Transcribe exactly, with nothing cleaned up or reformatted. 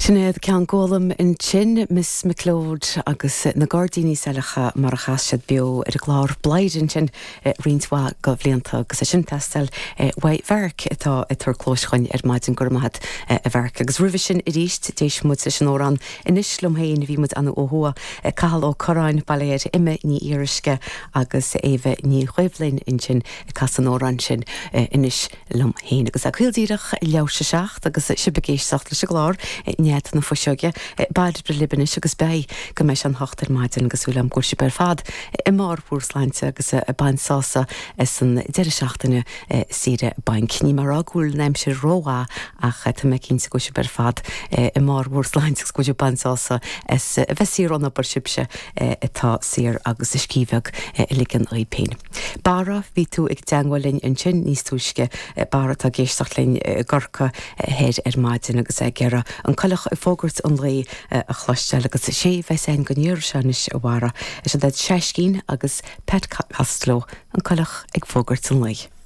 Sinéad Ceann Gólam ansin Miss McLeod agus na Gairdíní Saileacha mar a chas siad beo ar an gclár Bladhaire ansin roinnt mhaith de bhlianta agus é sin teastáil uaidh Mharc atá ag tabhairt cluas dúinn ar maidin go raibh maith agat a Mharc agus roimhe sin arís d'éist muid leis an amhrán Anois liom féin bhí muid ann ó thuaidh Cathal Ó Curráin Bailéir Ime Ní Fhíoruisce agus Éabha Ní Chuimhlinn ansin ag casadh an amhráin sin Anois liom féin agus a caol díreach leathuair tar éis a seacht agus sibh ag éisteacht leis an gclár Nead na Fuiseoige Bairbre Libanis agus bei go mbeidh an hocht ar maidin agus súil agam go bhfuil sibh ar fad i mbarr bhur sláinte agus ag baint sásamh as an deireadh seachtaine saoire bainc. Ní mar go bhfuil an aimsir rómhaith ach tá mé cinnte go bhfuil sibh ar fad i mbarr bhur sláinte agus go bhfuil baint sásamh as a bheith saor ón obair sibhse atá saor agus a scíth bheag a ligean oraibh féin. Barra bhí tú ag teagmháil linn ansin níos túisce Barra tá ag éisteacht linn i gCorcaigh thoir ar maidin agus ag iarraidh an coileach ag fógairt an lae a chloisteáil agus sé bheith an go níor senis a bhara is iad Seiscín agus Pat Costello an coileach ag fógairt an lae.